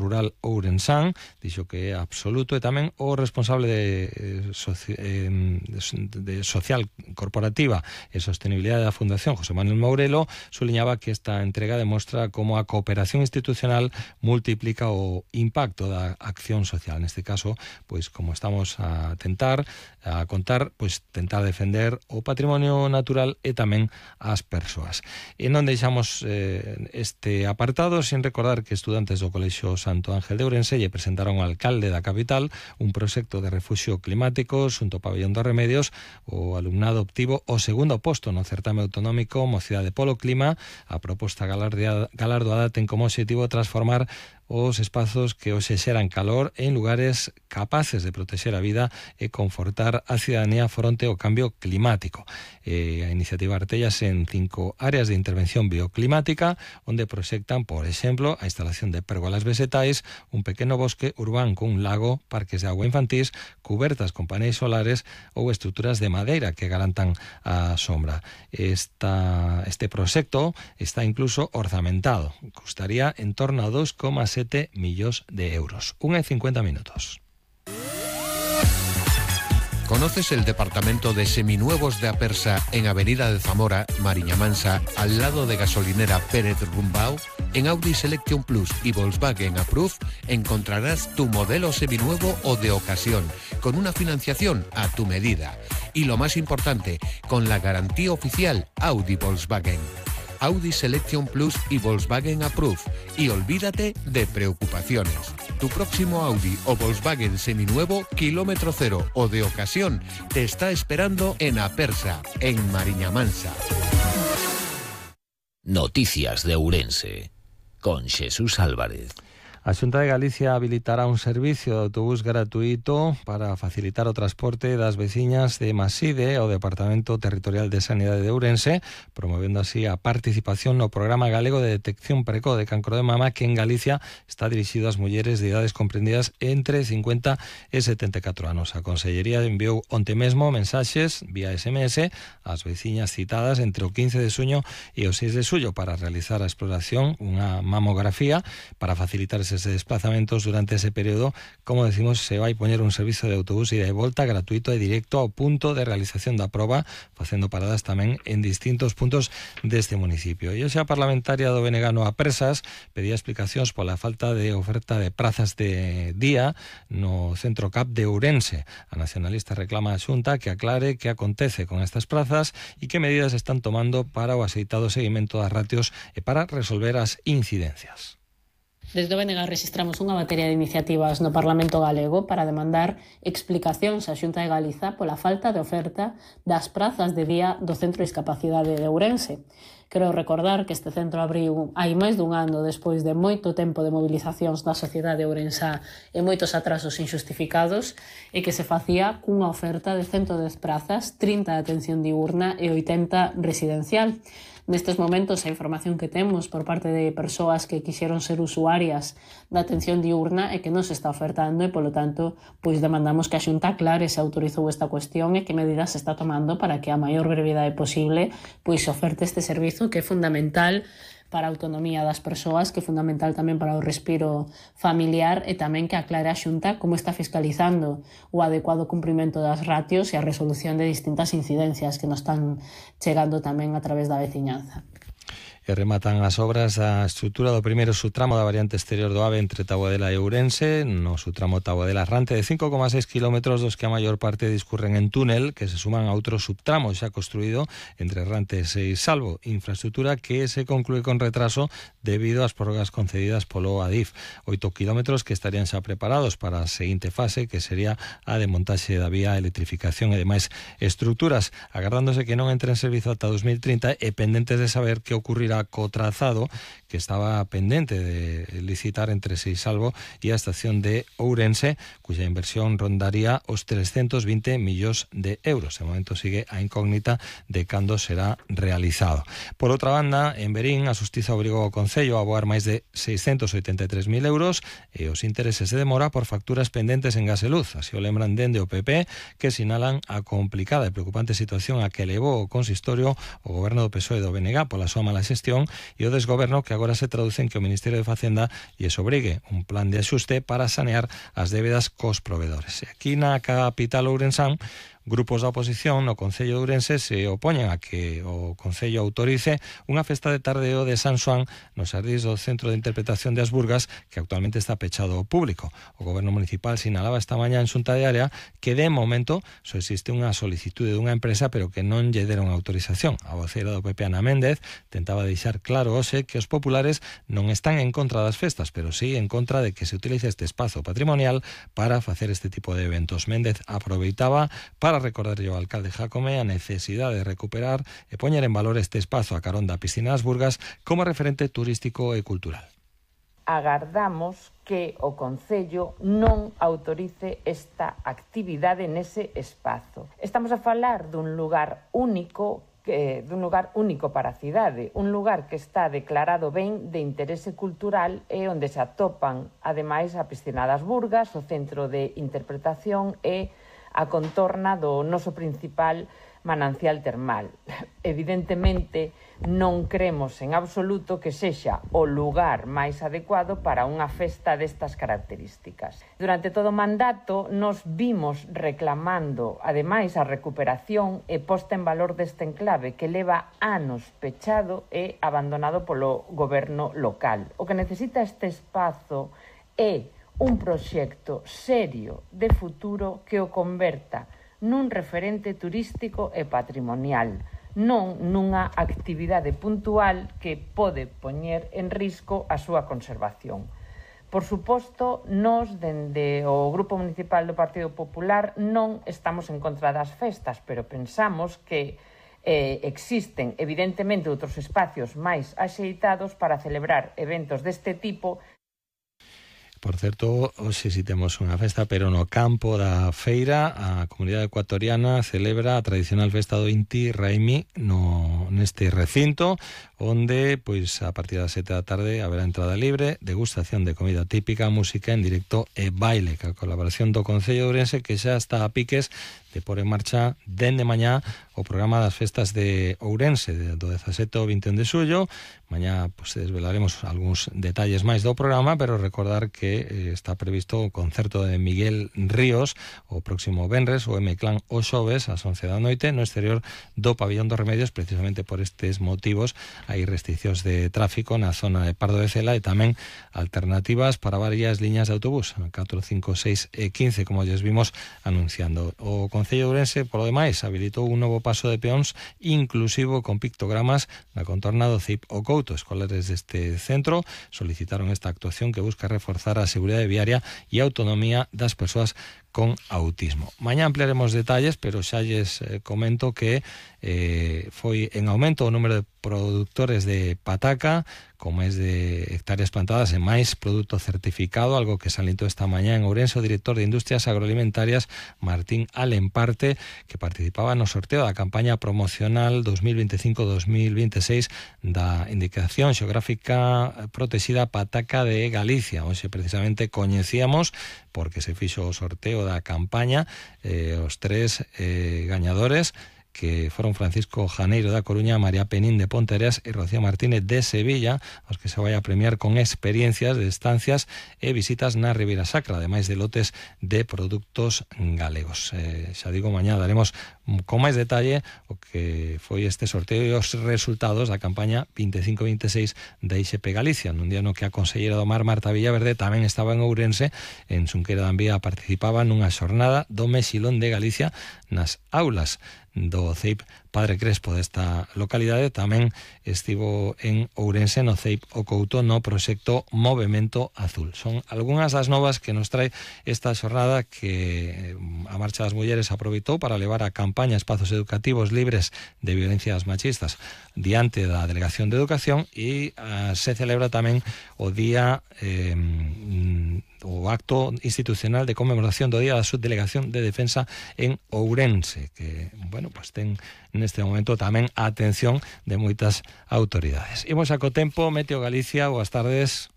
rural ourensán, dixo que é absoluto, e tamén o responsable de Social Corporativa e Sostenibilidade da Fundación, José Manuel Mourelo, suliñaba que esta entrega demostra como a cooperación institucional multiplica o impacto da acción social. Neste caso, pois como estamos a contar, pois tentar defender o patrimonio natural e tamén as persoas. E non deixamos este apartado sin recordar que estudantes do Colexio Santo Ángel de Ourense lle presentaron ao alcalde da capital un proxecto de refuxio climático xunto ao Pabellón dos Remedios. O alumnado obtivo o segundo posto no certame autonómico Mocidade polo Clima. A proposta galardoada ten como obxectivo transformar os espazos que hoxe xeran calor en lugares capaces de protexer a vida e confortar a cidadanía fronte ao cambio climático. A iniciativa artellase en 5 áreas de intervención bioclimática, onde proxectan, por exemplo, a instalación de pérgolas vegetais, un pequeno bosque urbán con un lago, parques de agua infantís, cubertas con paneis solares ou estruturas de madeira que garantan a sombra. Este proxecto está incluso orzamentado. Custaría en torno a 2,7 millóns de euros. 1:50 minutos. ¿Conoces el departamento de seminuevos de Apersa en Avenida de Zamora, Mariña Mansa, al lado de gasolinera Pérez Rumbao? En Audi Selection Plus y Volkswagen Approve encontrarás tu modelo seminuevo o de ocasión, con una financiación a tu medida. Y lo más importante, con la garantía oficial Audi Volkswagen. Audi Selection Plus y Volkswagen Approve. Y olvídate de preocupaciones. Tu próximo Audi o Volkswagen seminuevo, kilómetro cero o de ocasión, te está esperando en Apersa, en Mariña Mansa. Noticias de Ourense, con Xesús Álvarez. A Xunta de Galicia habilitará un servicio de autobús gratuito para facilitar o transporte das veciñas de Maside ao Departamento Territorial de Sanidade de Ourense, promovendo así a participación no Programa Galego de Detección Precoz de Cancro de Mama, que en Galicia está dirixido ás mulleres de idades comprendidas entre 50 e 74 anos. A Consellería enviou onte mesmo mensaxes vía SMS ás veciñas citadas entre o 15 de xuño e o 6 de xullo para realizar a exploración, unha mamografía, para facilitar ese desplazamentos durante ese período. Como decimos, se vai poñer un servizo de autobús ida e volta gratuito e directo ao punto de realización da proba, facendo paradas tamén en distintos puntos deste municipio. E hoxe a parlamentaria do BNG no Apresas pedía explicacións pola falta de oferta de prazas de día no Centro CAP de Ourense. A nacionalista reclama a Xunta que aclare que acontece con estas prazas e que medidas están tomando para o axeitado seguimento das ratios e para resolver as incidencias. Desde o BNG registramos unha batería de iniciativas no Parlamento Galego para demandar explicacións á Xunta de Galiza pola falta de oferta das prazas de día do Centro de Discapacidade de Ourense. Quero recordar que este centro abriu hai máis dun ano despois de moito tempo de movilizacións da sociedade ourensá e moitos atrasos injustificados, e que se facía cunha oferta de 110 prazas, 30 de atención diurna e 80 residencial. Nestes momentos, a información que temos por parte de persoas que quixeron ser usuarias da atención diurna é que non se está ofertando e, polo tanto, pois demandamos que a Xunta aclare se autorizou esta cuestión e que medidas se está tomando para que a maior brevidade posible pois se oferte este servizo que é fundamental para a autonomía das persoas, que é fundamental tamén para o respiro familiar, e tamén que aclare a Xunta como está fiscalizando o adecuado cumprimento das ratios e a resolución de distintas incidencias que nos están chegando tamén a través da veciñanza. E rematan as obras da estrutura do primeiro subtramo da variante exterior do AVE entre Taboadela e Ourense, no subtramo Taboadela-Rante de 5,6 km, dos que a maior parte discurren en túnel, que se suman a outro subtramo xa construído entre Rante e Salvo, infraestructura que se conclúe con retraso debido ás prórrogas concedidas polo ADIF. 8 km que estarían xa preparados para a seguinte fase, que sería a de montaxe da vía, electrificación e demais estructuras, agardándose que non entre en servizo ata 2030 e pendentes de saber que ocurrirá co trazado que estaba pendente de licitar entre Seisalvo e a estación de Ourense, cuya inversión rondaría os 320 millóns de euros. De momento sigue a incógnita de cando será realizado. Por outra banda, en Verín, a Xustiza obrigou ao Concello a aboar máis de 683.000 euros e os intereses de demora por facturas pendentes en gas e luz. Así o lembran dende o PP, que sinalan a complicada e preocupante situación a que levou o consistorio o goberno do PSOE do BNG pola súa mala xestión e o desgoberno que agora se traduce en que o Ministerio de Facenda lles obrigue un plan de axuste para sanear as débedas cos provedores. E aquí na capital ourensán, grupos da oposición no Concello de Ourense se opoñen a que o Concello autorice unha festa de tardeo de San Xoán nos xardíns do Centro de Interpretación de Asburgas, que actualmente está pechado ao público. O Goberno Municipal sinalaba esta mañá en xunta de área que de momento só existe unha solicitude dunha empresa, pero que non lle deron autorización. A voceira do PP, Ana Méndez, tentaba deixar claro hoxe que os populares non están en contra das festas, pero sí en contra de que se utilice este espazo patrimonial para facer este tipo de eventos. Méndez aproveitaba para recordarlle ao alcalde Jácome a necesidade de recuperar e poñer en valor este espazo a carón da piscina das Burgas como referente turístico e cultural. Agardamos que o Concello non autorice esta actividade nese espazo. Estamos a falar dun lugar único para a cidade, un lugar que está declarado ben de interese cultural e onde se atopan, ademais, a piscina das Burgas, o centro de interpretación e a contorna do noso principal manancial termal. Evidentemente, non cremos en absoluto que sexa o lugar máis adecuado para unha festa destas características. Durante todo o mandato, nos vimos reclamando, ademais, a recuperación e posta en valor deste enclave que leva anos pechado e abandonado polo goberno local. O que necesita este espazo é un proxecto serio de futuro que o converta nun referente turístico e patrimonial, non nunha actividade puntual que pode poñer en risco a súa conservación. Por suposto, nós, dende o Grupo Municipal do Partido Popular, non estamos en contra das festas, pero pensamos que existen, evidentemente, outros espacios máis axeitados para celebrar eventos deste tipo. Por certo, hoxe si temos unha festa, pero no campo da feira a comunidade ecuatoriana celebra a tradicional festa do Inti Raimi neste recinto, onde pois a partir das 7 da tarde haberá entrada libre, degustación de comida típica, música en directo e baile, que a colaboración do Concello de Ourense, que xa está a piques de pôr en marcha dende mañá o programa das festas de Ourense do 17 ao 21 de xullo. Mañá pues, desvelaremos algúns detalles máis do programa, pero recordar que está previsto o concerto de Miguel Ríos o próximo venres, o M-Clan o xoves ás 11 da noite no exterior do Pabillón dos Remedios. Precisamente por estes motivos hai restriccións de tráfico na zona de Pardo de Cela e tamén alternativas para varias liñas de autobús, 4, 5, 6 e 15, como lles vimos anunciando. O Concello de Ourense, polo demais, habilitou un novo paso de peóns inclusivo con pictogramas na contorna do CIP o Couto. Escolares deste centro solicitaron esta actuación que busca reforzar a seguridade viaria e a autonomía das persoas con autismo. Mañá ampliaremos detalles, pero xa lles comento que foi en aumento o número de produtores de pataca, con máis de hectáreas plantadas e máis produto certificado, algo que salientou esta mañá en Ourense o director de Industrias Agroalimentarias, Martín Alemparte, que participaba no sorteo da campaña promocional 2025-2026 da indicación xeográfica protexida Pataca de Galicia. Hoxe precisamente coñecíamos, porque se fixo o sorteo da campaña, os tres gañadores, que foron Francisco Janeiro da Coruña, María Penín de Pontereas e Rocío Martínez de Sevilla, aos que se vai a premiar con experiencias de estancias e visitas na Ribeira Sacra, ademais de lotes de produtos galegos. Xa digo, mañá daremos con máis detalle o que foi este sorteo e os resultados da campaña 25-26 da IXP Galicia, nun día no que a conselleira do Mar, Marta Villaverde, tamén estaba en Ourense. En Xunqueira da Envía participaba nunha xornada do Mexilón de Galicia nas aulas do CEIP Padre Crespo desta localidade. Tamén estivo en Ourense no CEIP o Couto no proxecto Movemento Azul. Son algunhas das novas que nos trae esta xornada que a Marcha das Mulleres aproveitou para levar a campaña Espazos Educativos Libres de Violencias Machistas diante da Delegación de Educación, e se celebra tamén o día o acto institucional de conmemoración do Día da Subdelegación de Defensa en Ourense, que, bueno, pues ten neste momento tamén a atención de moitas autoridades. Imos a co tempo. Meteo Galicia, boas tardes.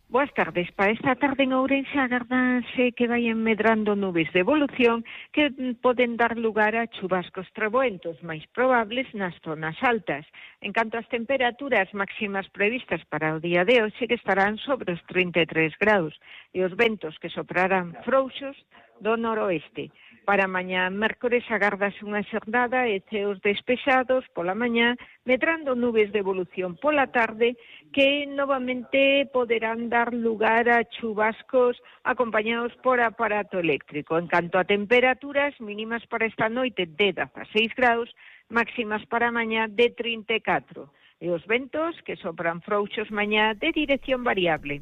Boas tardes. Para esta tarde en Ourense agardanse que vayan medrando nubes de evolución que poden dar lugar a chubascos treboentos máis probables nas zonas altas. En canto ás temperaturas máximas previstas para o día de hoxe, que estarán sobre os 33 graus, e os ventos que soprarán frouxos do noroeste. Para mañá mércores agardase unha xornada e ceos despexados pola mañá, medrando nubes de evolución pola tarde que novamente poderán dar lugar a chubascos acompañados por aparato eléctrico. En canto a temperaturas mínimas para esta noite de 16 graus, máximas para mañá de 34. E os ventos que sopran frouxos mañá de dirección variable.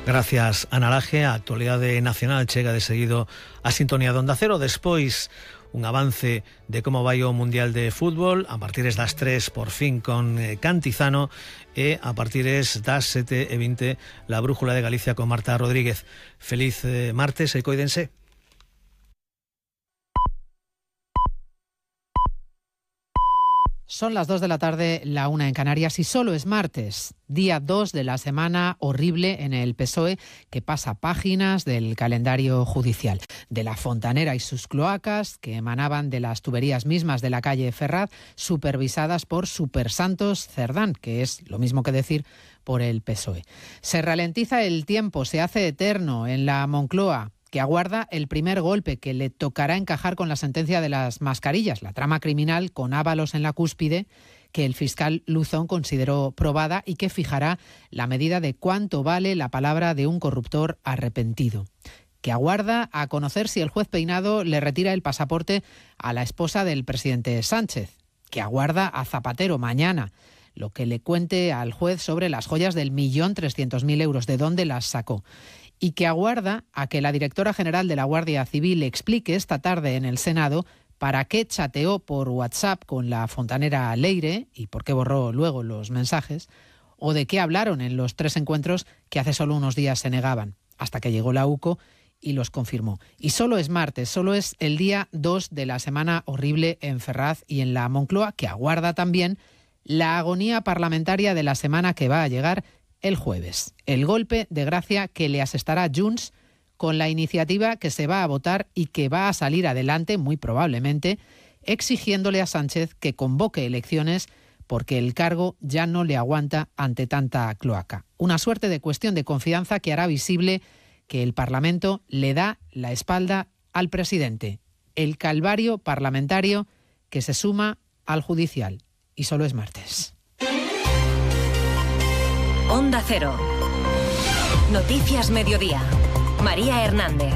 Gracias, Ana Laje. A actualidade nacional chega de seguido a sintonía de Onda Cero. Despois, un avance de como vai o Mundial de Fútbol a partires das 3 por fin con Cantizano e a partires das 7:20 la Brújula de Galicia con Marta Rodríguez. Feliz martes e coídense. Son las 2 de la tarde, la 1 en Canarias, y solo es martes, día 2 de la semana horrible en el PSOE, que pasa páginas del calendario judicial. De la fontanera y sus cloacas, que emanaban de las tuberías mismas de la calle Ferraz, supervisadas por Supersantos Cerdán, que es lo mismo que decir por el PSOE. Se ralentiza el tiempo, se hace eterno en la Moncloa, que aguarda el primer golpe que le tocará encajar con la sentencia de las mascarillas, la trama criminal con Ábalos en la cúspide, que el fiscal Luzón consideró probada y que fijará la medida de cuánto vale la palabra de un corruptor arrepentido. Que aguarda a conocer si el juez Peinado le retira el pasaporte a la esposa del presidente Sánchez. Que aguarda a Zapatero mañana lo que le cuente al juez sobre las joyas del 1.300.000 euros, de dónde las sacó. Y que aguarda a que la directora general de la Guardia Civil explique esta tarde en el Senado para qué chateó por WhatsApp con la fontanera Leire y por qué borró luego los mensajes, o de qué hablaron en los 3 encuentros que hace solo unos días se negaban, hasta que llegó la UCO y los confirmó. Y solo es martes, solo es el día 2 de la semana horrible en Ferraz y en la Moncloa, que aguarda también la agonía parlamentaria de la semana que va a llegar el jueves. El golpe de gracia que le asestará Junts con la iniciativa que se va a votar y que va a salir adelante, muy probablemente, exigiéndole a Sánchez que convoque elecciones porque el cargo ya no le aguanta ante tanta cloaca. Una suerte de cuestión de confianza que hará visible que el Parlamento le da la espalda al presidente. El calvario parlamentario que se suma al judicial. Y solo es martes. Onda Cero. Noticias Mediodía. María Hernández.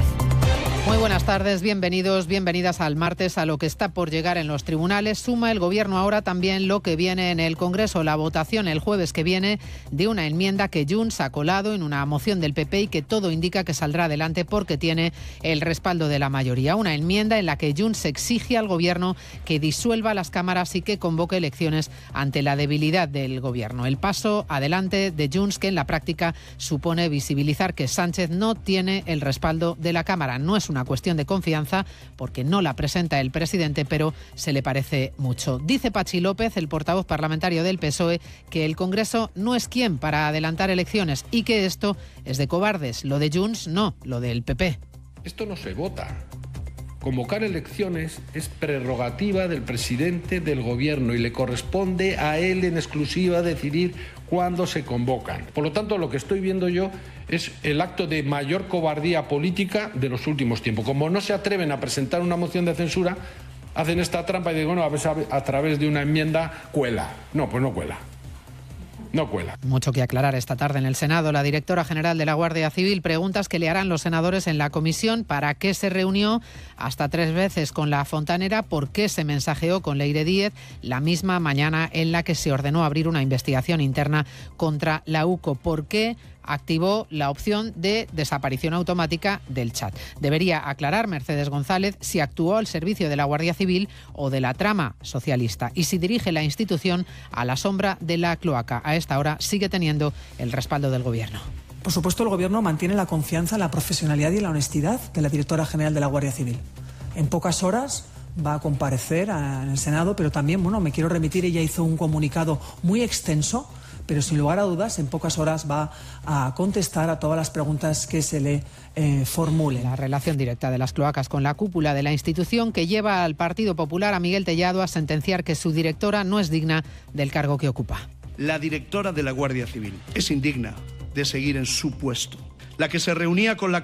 Muy buenas tardes, bienvenidos, bienvenidas al martes, a lo que está por llegar en los tribunales. Suma el Gobierno ahora también lo que viene en el Congreso, la votación el jueves que viene de una enmienda que Junts ha colado en una moción del PP y que todo indica que saldrá adelante porque tiene el respaldo de la mayoría. Una enmienda en la que Junts exige al Gobierno que disuelva las cámaras y que convoque elecciones ante la debilidad del Gobierno. El paso adelante de Junts, que en la práctica supone visibilizar que Sánchez no tiene el respaldo de la Cámara. No es una cuestión de confianza porque no la presenta el presidente, pero se le parece mucho. Dice Pachi López, el portavoz parlamentario del PSOE, que el Congreso no es quien para adelantar elecciones y que esto es de cobardes. Lo de Junts no, lo del PP. Esto no se vota. Convocar elecciones es prerrogativa del presidente del Gobierno y le corresponde a él en exclusiva decidir cuándo se convocan. Por lo tanto, lo que estoy viendo yo es el acto de mayor cobardía política de los últimos tiempos. Como no se atreven a presentar una moción de censura, hacen esta trampa y dicen, bueno, a través de una enmienda cuela. No, pues no cuela. No cuela. Mucho que aclarar esta tarde en el Senado. La directora general de la Guardia Civil, preguntas que le harán los senadores en la comisión: ¿para qué se reunió hasta 3 veces con la fontanera? ¿Por qué se mensajeó con Leire Díez la misma mañana en la que se ordenó abrir una investigación interna contra la UCO? ¿Por qué activó la opción de desaparición automática del chat? Debería aclarar Mercedes González si actuó al servicio de la Guardia Civil o de la trama socialista y si dirige la institución a la sombra de la cloaca. A esta hora sigue teniendo el respaldo del Gobierno. Por supuesto, el Gobierno mantiene la confianza, la profesionalidad y la honestidad de la directora general de la Guardia Civil. En pocas horas va a comparecer en el Senado, pero también, me quiero remitir, ella hizo un comunicado muy extenso pero sin lugar a dudas en pocas horas va a contestar a todas las preguntas que se le formulen. La relación directa de las cloacas con la cúpula de la institución que lleva al Partido Popular, a Miguel Tellado, a sentenciar que su directora no es digna del cargo que ocupa. La directora de la Guardia Civil es indigna de seguir en su puesto. La que se reunía con la